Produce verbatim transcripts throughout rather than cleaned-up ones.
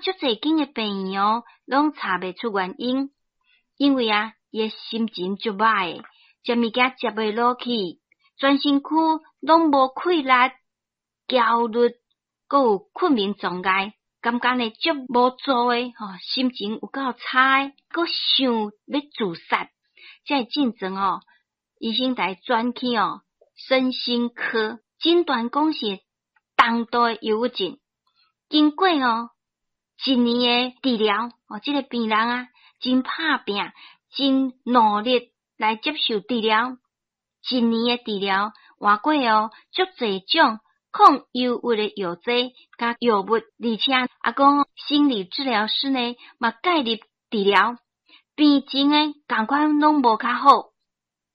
足濟間的病院哦，攏查袂出原因。因為啊，伊的心情足歹的，食物件食袂落去，全身軀攏無氣力，焦慮，閣有困眠障礙，感覺呢足無助的，吼，心情有夠差的，閣想欲自殺，這个症狀哦，醫生共伊轉去哦，身心科診斷講是重度的憂鬱症。經過哦一年的治療，哦，這個病人啊，真拍拚，真努力來接受治療。一年的治療，換過哦，足濟種抗憂鬱的藥劑佮藥物，而且啊講心理治療師呢嘛介入治療，病情呢仝款攏無較好。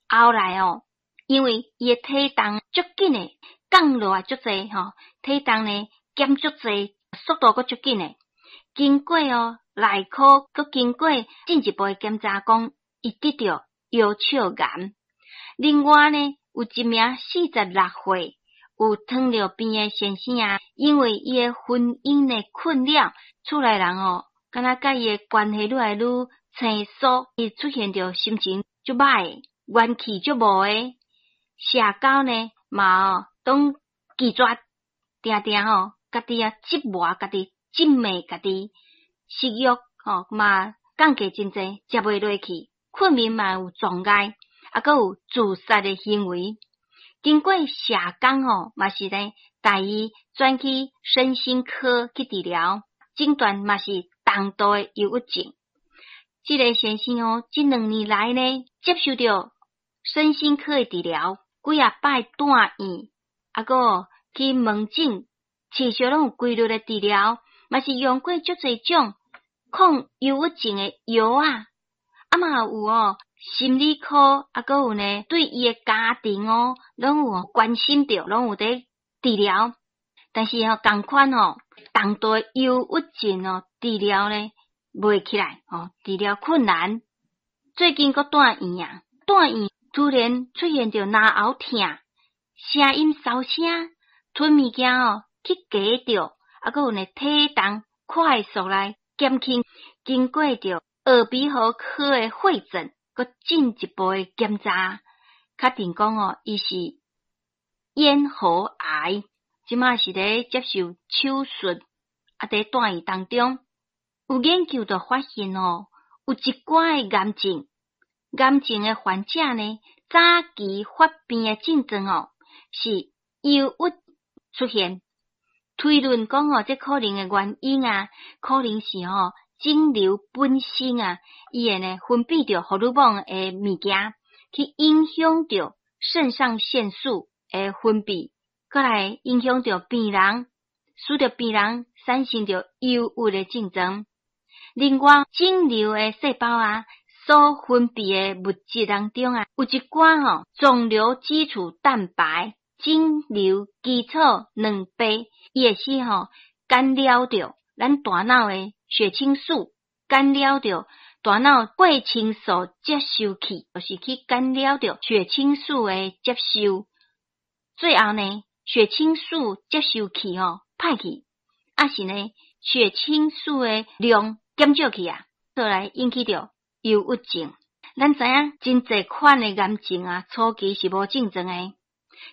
後來哦，因為伊的體重足緊的降落來足濟吼，體重呢減足濟，速度閣足緊的。經過哦內科，閣經過進一步的檢查，講伊得著腰鞘癌。另外呢，有一名四十六歲有糖尿病的先生啊，因為伊的婚姻的困擾，厝內人哦，敢若佮伊的關係愈來愈生疏，伊出現著心情足歹，元氣足無的，社交呢嘛哦，攏拒絕，定定吼家己啊折磨家己，責罵家己，食欲吼嘛降低真濟，食袂落去，困眠嘛有障礙，啊，閣有自殺的行為。經過社工吼，嘛是呢帶伊轉去身心科去治療，診斷嘛是重度的憂鬱症。這個先生哦，這兩年來呢，接受著身心科的治療，幾仔擺住院，啊，閣去門診，持續攏有規律的治療，嘛是用過足濟種抗憂鬱症的藥啊，啊嘛有哦心理科，啊，閣有呢對伊的家庭哦，攏有關心著，攏有佇治療。但是吼，仝款吼，重度的憂鬱症哦，治療呢袂起來，吼，治療困難。最近閣住院啊，住院突然出現著嚨喉疼，聲音沙聲，吞物件哦去噎著，啊，閣有呢體重快速來減輕，經過著耳鼻喉科的會診，閣進一步的檢查，確定講哦，伊是咽喉癌，這馬是咧接受手術，啊，佇住院當中，有研究就發現哦，有一寡的癌症，癌症的患者呢，早期發病的症狀哦，是憂鬱出現。推論講哦，這可能的原因啊，可能是吼腫瘤本身啊，伊會呢分泌著荷爾蒙的物件，去影響著腎上腺素的分泌，閣來影響著病人，使得病人產生著憂鬱的症狀。另外，腫瘤的細胞啊，所分泌的物質當中啊，有一寡吼腫瘤基礎蛋白、腫瘤基礎蛋白，伊會使吼干擾著咱大腦的血清素，干擾著大腦血清素接收器，就是去干擾著血清素的接收。最後呢，血清素接收器吼歹去，抑是呢血清素的量減少去啊，就來引起著憂鬱症。咱知影真濟款的癌症啊，初期是無症狀的，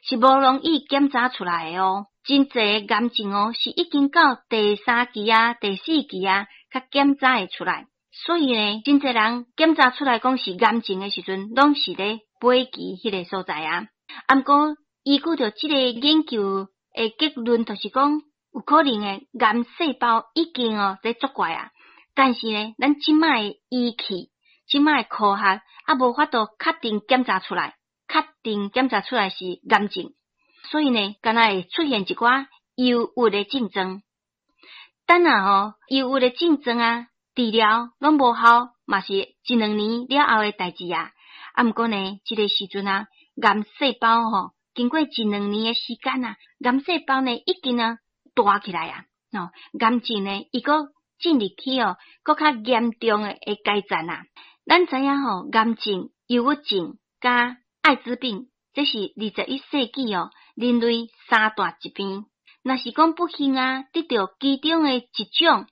是無容易檢查出來的哦。真濟癌症哦，是已經到第三期啊、第四期啊，才檢查會出來。所以呢，真濟人檢查出來講是癌症的時陣，攏是咧尾期彼个所在啊。啊，毋過依據著這個研究的結論，就是講有可能的癌細胞已經哦佇作怪啊。但是呢，咱這擺的儀器、這擺的科學，猶無法度確定檢查出來，確定檢查出來是癌症。所以呢，敢若會出現一寡憂鬱的症狀。等下吼，憂鬱的症狀啊，治療攏無效，嘛是一兩年了後的代誌啊。啊，毋過呢，這個時陣啊，癌細胞吼，經過一兩年的時間啊，癌細胞呢已經啊大起來啊，哦，癌症呢，伊閣進入去哦，閣較嚴重的的階層啊。咱知影吼，癌症、憂鬱症佮愛滋病，這是二十一世紀哦人類三大疾病。若是講不幸啊，得著其中的一種，